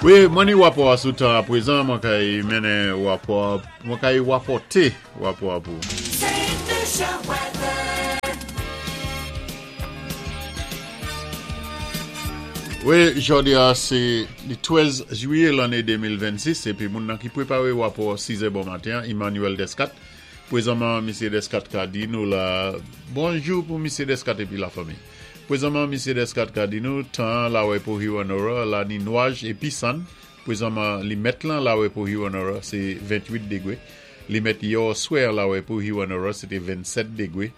Wi, mwen ni wapò a sou tan apwezan, mwen kay mennen wapò a, mwen kay wapòte wapò a pou ou. Wi, jòdi a se li 13 jwiyé lanné 2026, épi moun nan ki pwépawé wapò 6 è bon maten an, Emmanuel Descat. Pwezanman misye Descat ka di nou la, bonjou pou misye Descat épi la fanmi. Pwezanman misye Descat ka di nou, tan an lawè pou Hewanorra la ni nwaj épi sann, pwezanman li mèt lan lawè pou Hewanorra se 28 degwé, li mèt yèoswè an lawè pou Hewanorra se té 27 degwé,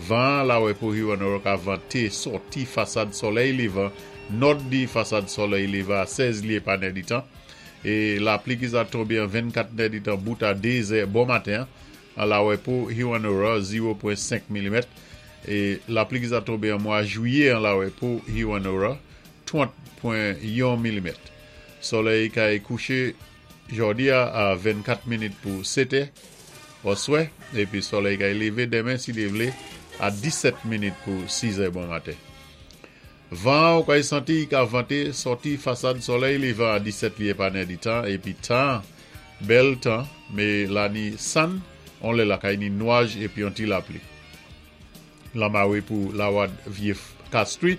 Van an lawè pou Huron ka vante sòti fasad solèy levan nòd di fasad solèy levan a 16 lye pa nèditan e lapli ki sa tonbe an 24 nèditan bout a 2 zè bon maten an lawè pou Huron 0.5 milimèt e lapli ki sa tonbe an mwa jwiye an lawè pou Huron 30.1 milimèt. Solèy kay kouche Jòdi a a 24 minit pou 7 è oswè epi solèy kay leve demen si Dye vle a 17 minit pou 6 è bon maten. Van an ou kay santi i ka vante sòti fasad solèy levan a 17 lye pa nèditan epi tan an bèl tan me la ni sann on lè lakay ni nwaj epi on ti lapli. Lanmare pou Lawad Vye Castri,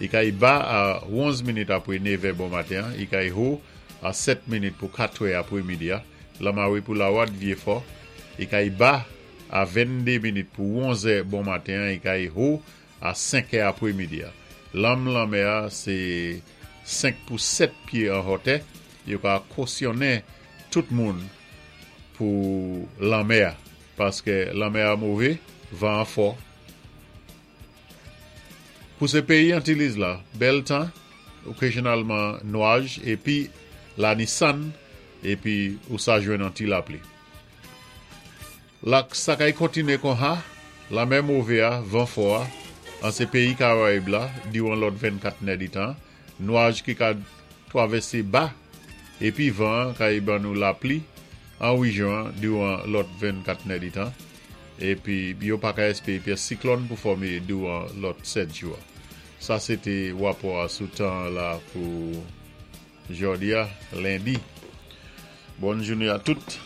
i kay ba a 11 minit apre nevè bon maten an, i kay ho a 7 minit pou katrè apre midi a. Lanmare pou Lawad Vye Fò, i kay ba a 22 minit pou onzè bon maten an, i kay ho a senkè apre midi a. Lanm lanmè a se 5 pou 7 pye an hòtè, yo ka kosyonnen tout moun pou lanmè a. Paske lanmè a move, van an fò. Pou se peyi Antiliz la, bèl tan, okezyonalman nwaj epi la ni sann epi ou sa jwenn an ti lapli. Lak sa kay kontine konha, lanmè move a, van fò a, an se peyi Karayib la, diwan lòt 24 nèditan, Nwaj ki ka twavèse ba epi van an ka ban nou lapli an rejyon an diran lòt 24 nèditan, epi yo pa ka espere pyès siklòn pou fòme diran lòt 7 jou a. Sa se te rapò a sou tan an la pou jòdi a, lendi. Bòn jounen a tout.